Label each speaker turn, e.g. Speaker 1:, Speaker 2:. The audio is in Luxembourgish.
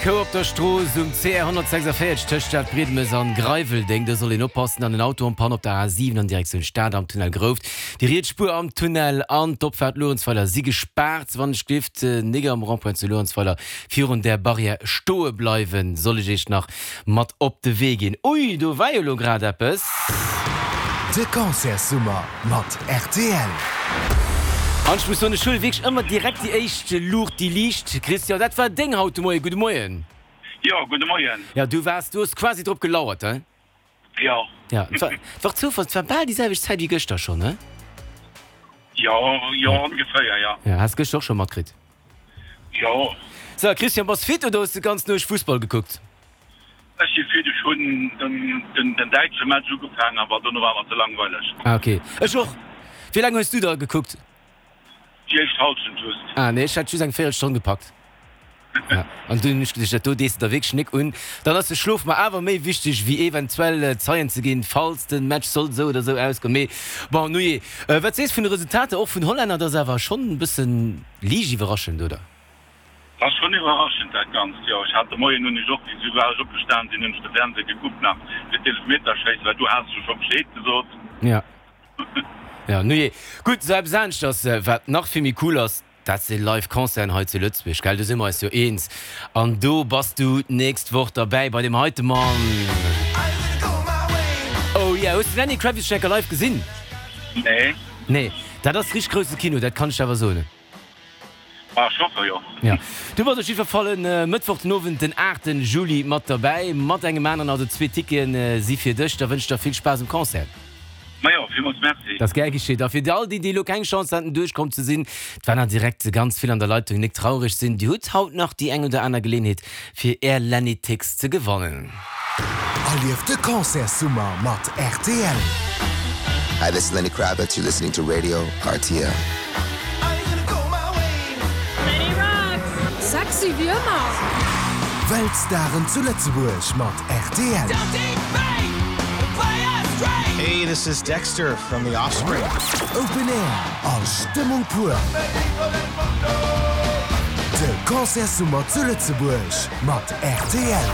Speaker 1: Kou op der Strooss um CR 146 tëscht Stadbriedemes an Greiweldeng. Do soll een oppassen. An en Auto en panne op der A7 an Direktioun Stad am Tunnel Grouft. Déi riets Spuer am Tunnel an d'Opfaart Luerenzweiler si gespaart. Wann ech gelift nik am Rond-point zu Luerenzweiler virun där Barrière stoe bleiwen, soll ech iech nach mat op de Wee ginn. Ui, do war jo lo grad eppes.
Speaker 2: De Concertssummer mat rtl.
Speaker 1: An ech muss soen, ech huele wierklech ëmmer direkt déi éischt Luucht, déi liicht. Christian, dat war deng haut de Moien. Gudde Moien.
Speaker 3: Jo, gudde Moien.
Speaker 1: Jo, du waars, du hues quasi drop gelauert, he?
Speaker 3: Jo.
Speaker 1: Jo, et war, et war Zoufall, et war bal déi selwecht Zäit wéi gëschter schonn, he?
Speaker 3: Jo, jo, ongeféier, jo.
Speaker 1: Jo, has gëschter och scho matkritt?
Speaker 3: Jo.
Speaker 1: So, Christian, bass fit oder hues de ganz Nuecht Fussball gekuckt?
Speaker 3: Ech si fit, ech hunn den däitsche Match ugefaangen, awer dono war mer ze langweileg.
Speaker 1: Ah ok, ech och. Wéi laang hues du da gekuckt?
Speaker 3: Déi éischt Halschent just.
Speaker 1: Ah nee, ech hat just eng Véierelstonn gepackt. Ja, an dunn hunn ech geduecht, dat do dees de der wierklech nik un. Dann ass de Schlof mer awer méi wichteg wéi eventuell Zeien ze ginn, falls de Match sollt esou oder esou ausgoen. Mee bon, nujee. Wat sees vun de Resultater och vun Hollänner? Dat ass awer schonn e bëssen liicht iwwerraschend, oder?
Speaker 3: Ass schon iwwerraschend dat ganzt, jo. Ech hat de Moien hunn ech och, wéi soubal ech opgestan sinn, hunn ech de Fernseh gekuckt nach fir d'Eelefmeterschéissen, well du has jo scho Bescheed gesot.
Speaker 1: Ja, ja, nujee. Gutt, sou eppes aneschters, wat nach vill méi cool ass, dat si live Concerten hei zu Lëtzebuerg, gell? Do si mer eis jo eens. An do bass du d'nächst Woch derbäi bei deem heite Mann. Oh yeah, hues de Lenny Kravitz schon eng Kéier live gesinn?
Speaker 3: Nee.
Speaker 1: Nee, dat ass richteg grousse Kino, dat kann ech der awer soen.
Speaker 3: Ah, ech hoffe jo.
Speaker 1: Ja, du bass op jiddwer Fall e Mëttwoch den Owend, den 8 Juli mat derbäi, mat engem aneren. Also zwee Tickete si fir dech. Da wënsch ech der vill Spaass um Concert.
Speaker 3: Majo, villmools Merci.
Speaker 1: Dat ass gär geschitt. A fir all déi, déi elo keng Chance haten duerchkomm ze sinn, et waren nach direkt ganz vill an der Leitung, nik traureg sinn, dir hutt haut nach déi eng oder aner Geleeënheet fir är Lenny-Tix ze gewannen.
Speaker 2: Erlieft de Concertssummer mat rtl.
Speaker 4: Hi, this is Lenny Kravitz, you're listening to Radio rtl.
Speaker 5: Lenny rocks! Sexy wéi ëmmer!
Speaker 2: Weltstaren zu Lëtzebuerg mat rtl.
Speaker 6: Hey, this is Dexter from The Offspring.
Speaker 2: Open Air a Stëmmung pur. De Concertssummer zu Lëtzebuerg mat rtl.